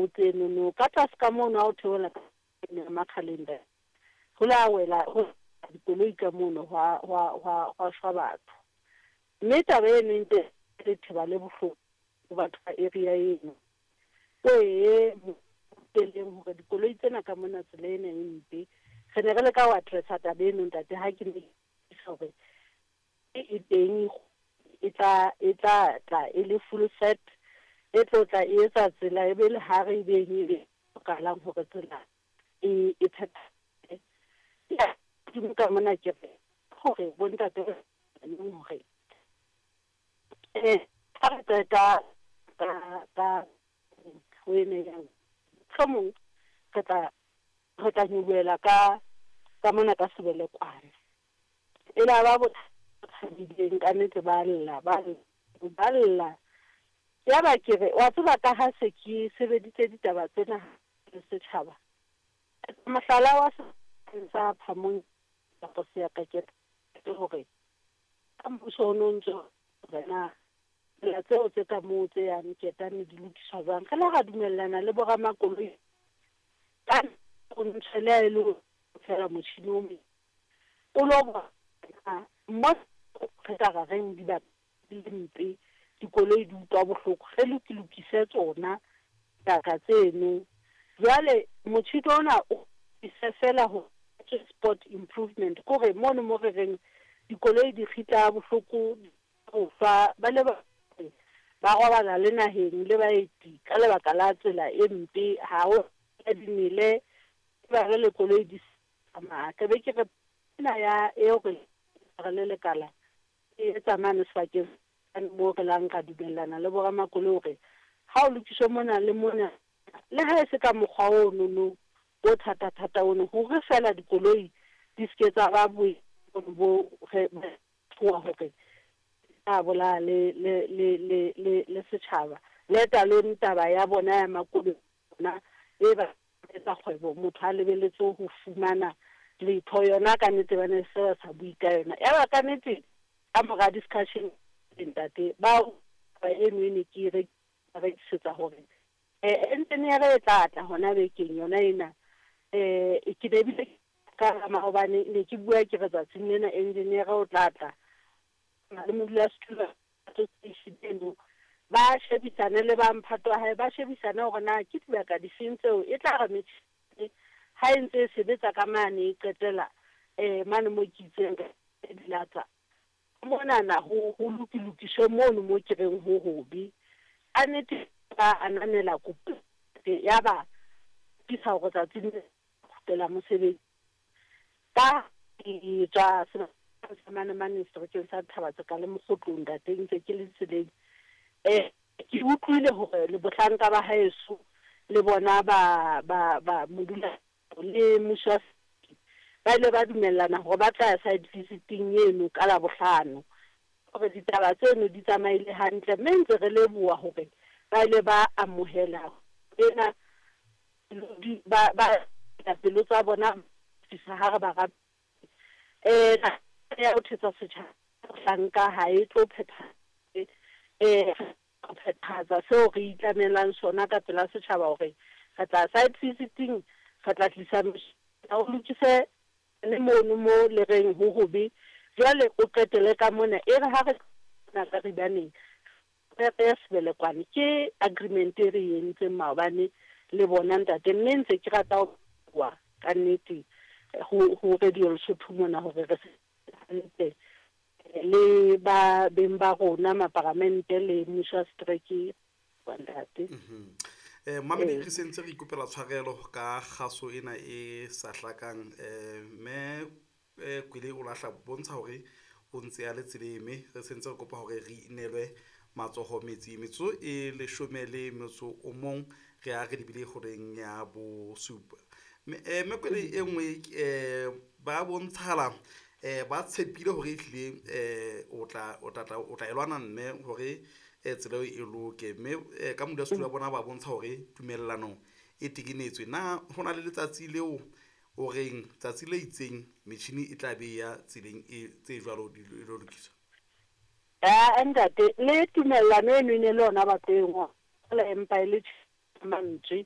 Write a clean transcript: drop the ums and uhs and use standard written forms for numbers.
tsenono ka tlase ka mono ha o theohela ka ya Makgaleng ho la wela ho dikoloi ka mono hwa hwa hwa hwa shwa batho. Mme taba eno e ntse letheba le bohloko ho batho ba area eno. Wee teleng hore dikoloi tsena ka mona tsela ena e mpe. Re ne re leka ho addressa taba eno ntate ha ke ne hore e teng e tla tla e le full set e tlo tla e etsa tsela e be le hare e beng e be hlokahalang hore tsela e e phethahale. Ya hodimo ka mona ke re hore bontate hore ha re qeta ka ho ena ya mohlomong re tla nyolohela ka mona ka Sebelekwane. E la ba thabileng ka nnete ba lla ba ba lla. Ya ba ke re wa tseba ka ha se ke sebeditse ditaba tsena le setjhaba. Mohlala wa sa Phamong kapa Seakakete hore ka mmuso o no ntso hore na tsela tseo tse ka moo tse yang Ketane di lokiswa jwang. Re la ra dumellana le boramakoloi ka o ntshwe le ha e le feela motjhini o mong o lo bona mo re ka ra reng dibaka di le mpe dikoloi di utlwa bohloko re lokise tsona dibaka tseno. Jwale motjhini ona o ise fela ho spot improvement kore mono mo re reng dikoloi di kgitla bohloko ho fa ba le ba ba robala le naheng le baeti ka lebaka la tsela e mpe ha ho dimele ba re le koloi di tsamaya. Ke be ke re ena ya eo re re le lekala e etsa mane sebakeng moo re lang ra dumellana le boramakoloi hore ha o lokiswe mona le mona le ha e se ka mokgwa ono no o thata-thata ono hore fela dikoloi di seke tsa ba boemong bo re tshoha hore a bolaya le le le le le le setjhaba. Let alone taba ya bona ya makoloi bona e ba etsa kgwebo motho a lebeletse ho fumana letho yona ka nnete ba ne se ba sa bue ka yona. Ya ba ka nnete ka mora discussion ntate ba eno e ne ke re rekisetsa hore engineer e tla tla hona bekeng yona ena. Ke ne bile ka maobane ne ke bua ke re tsatsing lena engineer o tla tla le modulasetulo association eno ba shebisane le ba mphato wa hae ba shebisane hore na ke dibaka difeng tseo e tla re metjhini ha e ntse e sebetsa ka mane e qetela mane mo ke itseng dilatsa monana ho ho lokilokiswe mono mo ke reng ho hobe. Ka nnete ba ananela kopo ya ba tlisa hore tsatsing le kgutlela mosebetsi ka ke tswa sebakeng sa mane mane seterekeng sa Thaba-Tseka le Mokgotlong ntate ntse ke le tseleng. Ke utlwile hore le bohlanka ba haeso le bona ba ba ba modula le mmuso wa ba ile ba dumellana hore ba tla ya site visiting eno ka Labohlano hore ditaba tseno di tsamaile hantle mme ntse re leboha hore ba ile ba amohela ena ba ba pelo tsa bona fisa ha re ba ya ho thetsa setjhaba hlanka ha e tlo phetha phethahatsa seo re itlamelang sona ka pela setjhaba hore re tla site visiting re tla tlisa o lokise le mono mo le reng ho hobe jwale o qetele ka mona e re ha re na ka ribaneng re ya Sebelekwane ke agreement e re entseng maobane le bona ntate mme ntse ke rata ho bua ka nnete ho Radio Lesotho mona hore re hantle le ba beng ba rona maparamente le mmuso wa setereke wa ntate. Mamedi re sentse re ikopela tshwarelo ka kgaso ena e sa hlakang mme Kwele o lahla bontsha hore o ntse a le tseleng mme re sentse re kopa hore re inelwe matsoho metsi metsotso e 11 re a re lebile horeng ya bosupa. Mme Kwele e nngwe ba bontshala ba tshepile hore ehlile o tla o tla o tla e lwana mme hore tsela eo e loke mme ka modulasetulo wa bona ba bontsha hore tumellano e tekenetswe. Na ho na le letsatsi leo o reng tsatsi le itseng metjhini e tla be ya tseleng e tse jwalo di lo lokiswa? Ntate le tumellano eno e ne le yona ba tlo e ngola empa e le mantswe.